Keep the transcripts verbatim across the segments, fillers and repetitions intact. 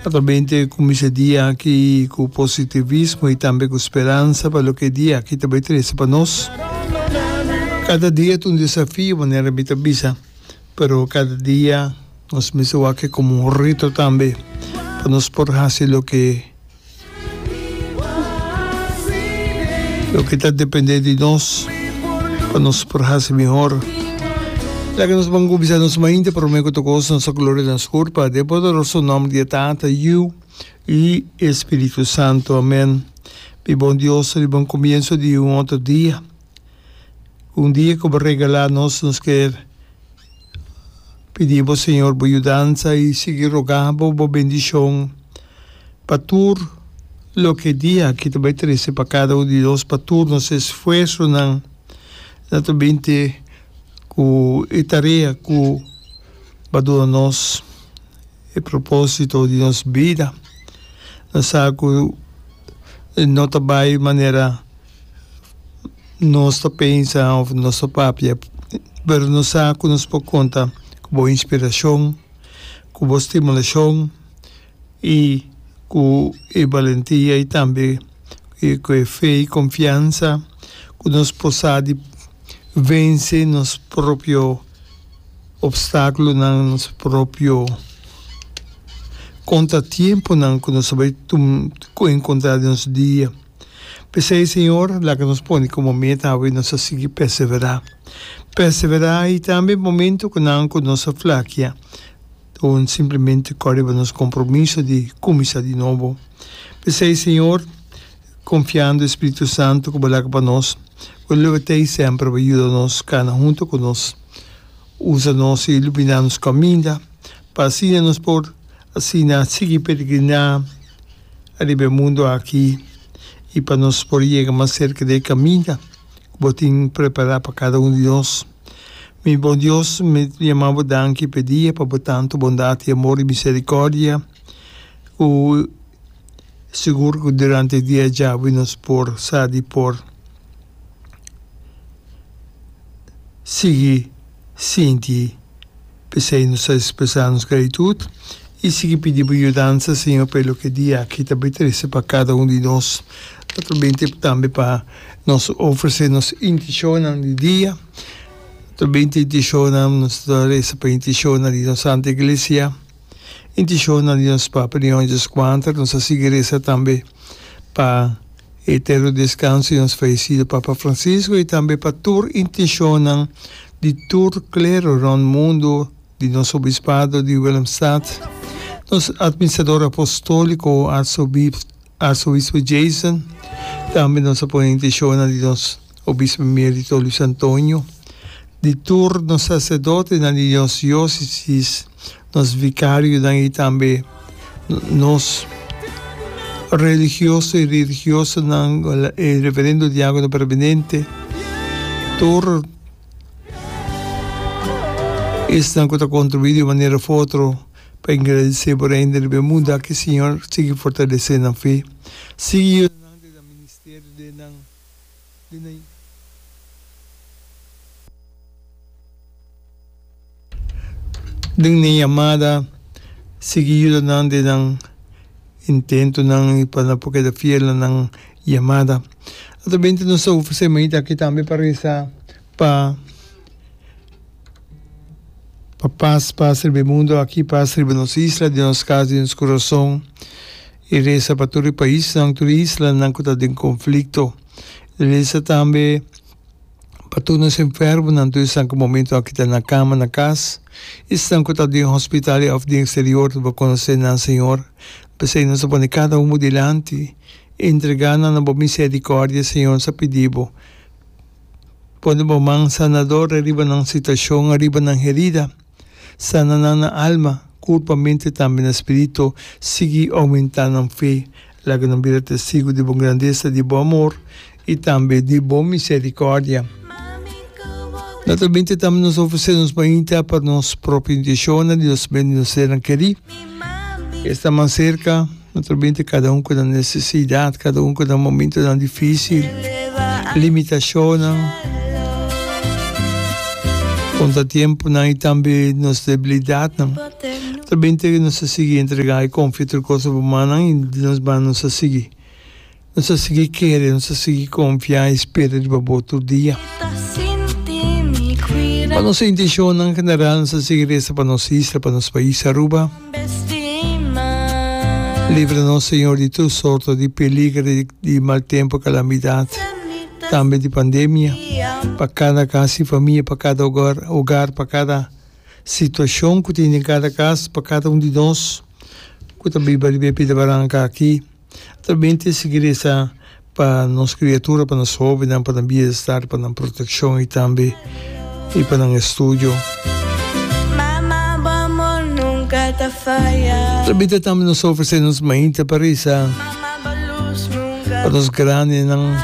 Naturalmente kuminsá e dia aki ku positivismo i tambe ku speransa pa loke e dia aki ta bai trese pa nos. Kada dia ta un desafio manera mi ta bisa, pero kada dia nos mester wak komo un reto tambe pa nos por hasi loke Loke ta depende di nos pa nos por hasi mihor. Laga nos ban kuminsá nos mainta promé ku tur kos nos ta gloria na nos kurpa den poderoso nòmber di e Tata, Yu i e Spiritu Santu. Amèn. Mi bon Dios, riba un komienso di un otro dia, un dia ku bo regalá nos, nos kier pidi bo Señor bo yudansa i sigui rogá bo bo bendishon. Pa tur loke dia aki ta bai trese pa kada un di nos, pa tur nos esfuersonan na ta binti ku e tarea ku ba duna nos e proposito di nos bida. Nos sa ku no ta bai manera nos ta pensa of nos ta papia, pero nos sa ku nos por konta ku bo inspirashon, ku bo stimulashon. I ku e balentia i tambe ku e fe i konfiansa ku nos por sa di vense nos propio opstákulonan, nos propio kontratiemponan ku nos ta bai enkontrá den nos dia. P'esei, Señor, laga nos pone komo meta awe nos a sigui perseverá. Perseverá i tambe momento ku nan ku nos a flakia. Un simplemente kòrda riba nos kompromiso di kuminsá di nobo. P'esei, Señor, konfiando e Spiritu Santu ku bo laga pa nos, ku lo ta ei semper pa yuda nos kana huntu ku nos, usa nos i iluminá nos kaminda, pa asina nos por asina sigui peregriná riba e mundu aki i pa nos por yega mas serka di e kaminda ku bo tin prepará pa kada un di nos. Mi bon Dios, mi yama bo danki p'e dia pa bo tantu bondat i amor i misericordia ku sigur ku durante e dia djawe nos por sa di por sigui sinti. P'esei nos ta expresa nos gratitud i sigui pidi bo yudansa, Señor, pa e loke dia aki ta bai trese pa kada un di nos. Naturalmente tambe pa nos ofrece nos intencionnan di dia. Naturalmente intencionnan, nos ta reza pa intencionnan di nos Santa Iglesia, intencionnan di nos Papa Leon Dieskuater, nos ta sigui reza tambe pa eterno descanso di nos fallecido Papa Francisco y tambe pa tur intencionnan di tur clero rond mundo, di nos Obispado di Willemstad, nos Administrador Apostolico Arzobispo. Arzobispo Jason, tambe nos a pone intenshonnan di nos Obispo Emerito Luis Antonio, di tur nos saserdotenan di nos diosesis, nos vikarionan i tambe nos religioso i religiosanan, e reverendo diakono permanente, tur esnan ku ta kontribuí di un manera òf otro. Pa engradesé bo Reino riba e mundu aki, Señor, sigui fortalesé nan fe. Sigui yuda nan den nan ministerio, den nan, den nan, den nan yamada. Sigui yuda nan den nan intentonan i pa nan por keda fiel na nan yamada. Naturalmente nos ta ofresé mainta aki tambe pa resa pa. Pa pas pas riba e mundo aki, pas riba nos isla, den nos kas, den nos kurason. I resa pa tur e paisnan, tur e islanan ku ta den konflikto. Resa tambe pa tur nos enfermonan, tur esnan ku momento aki ta na kama, na kas, esnan ku ta den hospital òf den eksterior, bo konosé nan, Señor. P'esei nos ta pone kada un bo dilanti, entregá nan na bo miserikòrdia, Señor, nos ta pidi bo. Pone bo man sanador ariba nan situacion, ariba nan herida. Sana nan na alma, curpa, mente tambe na spirito. Sigui aumenta nan fe. Laga nan bira testigo di bo grandesa, di bo amor y tambe di bo misericordia. Naturalmente tambe nos ofrece nos mainta pa nos propio intencionnan di nos ben di nos sernan keri. Esta man cerca. Naturalmente kada un ku nan nesesidat, kada un ku nan momentonan difísil, limitashonnan, kontratiemponan i tambe nos debilidatnan. Naturalmente nos ta sigui entrega y confia tur cos na bo mannan y di nos banda nos ta sigui nos ta sigui kere, nos ta sigui confia y spera riba bo tur dia. Pa nos intencionnan general nos ta sigui reza pa nos isla, pa nos pais Aruba. Libra nos Señor di tur sorto di peliger, di mal tempo, calamidad, tambe di pandemia, pa cada cas y famia, pa cada hogar, hogar, pa cada situacion cu tin den cada cas, pa cada un di nos cu ta biba riba e pida baranca aki. Tambe sigui reza pa nos criatura, pa nos hobennan, pa nan bienestar, pa nan proteccion y tambe y pa nan estudio. Mama, bo amor nunca ta faya. Tambe tambe nos ofrece nos mainta pa reza Mama, bo luz nunca pa nos grandenan,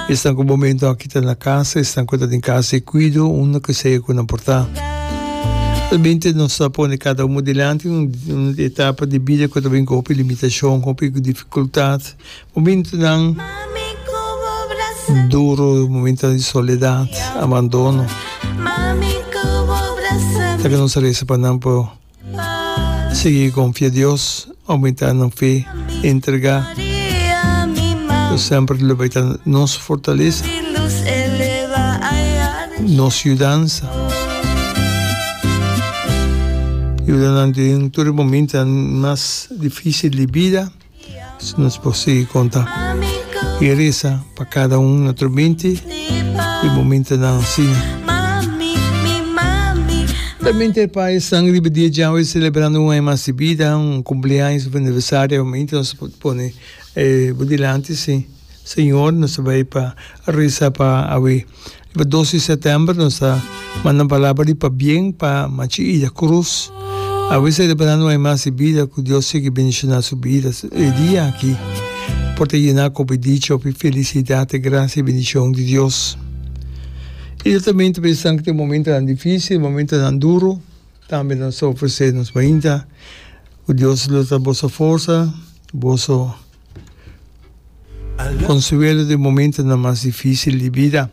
esnan cu momento aki ta na cas, esnan cu ta den cas di cuido, unda cu sea cu nan por ta. Tambe nos ta pone cada un dilanti un, un etapa di bida cu ta bin cu hopi limitacion, hopi dificultad, momentonan Mami, cu bo brasa duro, momento di soledad, abandono. Mami, cu bo brasa Ta cu nos reza pa nan por sigui confia Dios, aumenta nan fe, entrega. Maria, mi mama. Dios semper lo bay ta nos fortaleza, Luz eleva allá nos yudansa. Yuda nan den tur momento mas dificil di bida, si nos por sigui conta. Mami, cu Y reza pa cada un naturalmente, e momentonan asina. Mami, mi mami. Tambe pa esnan riba dia djawe celebrando un aña mas di bida, un cumpleaños, un aniversario, momento nos por pone eh, bo dilanti, si. Señor, nos ta bay pa reza pa awe. Riba dos di september nos ta manda palabra di pabien pa Machi Ida Cruz. Awe celebrando un aña mas di bida, cu Dios sigui bendiciona su bida. E dia aki por ta yena cu dicha, cu felicidad, gracia y bendicion di Dios. Y tambe ta pensando cu tin momentonan dificil, momentonan duro, tambe nos ta ofrece nos mainta, cu Dios lo ta boso forsa, boso consuelo den momentonan mas dificil di bida.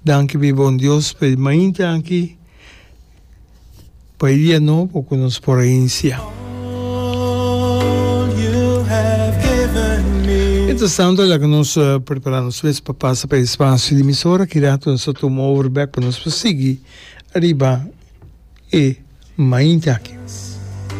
Danki mi bon Dios pa e mainta aki, pa e dia nobo cu nos por a inicia. Mientras tanto, laga nos uh, prepara nos mes pa pasa pa espacio di emisora, ki rato nos ta tuma over back pa nos sigui riba e mainta aki.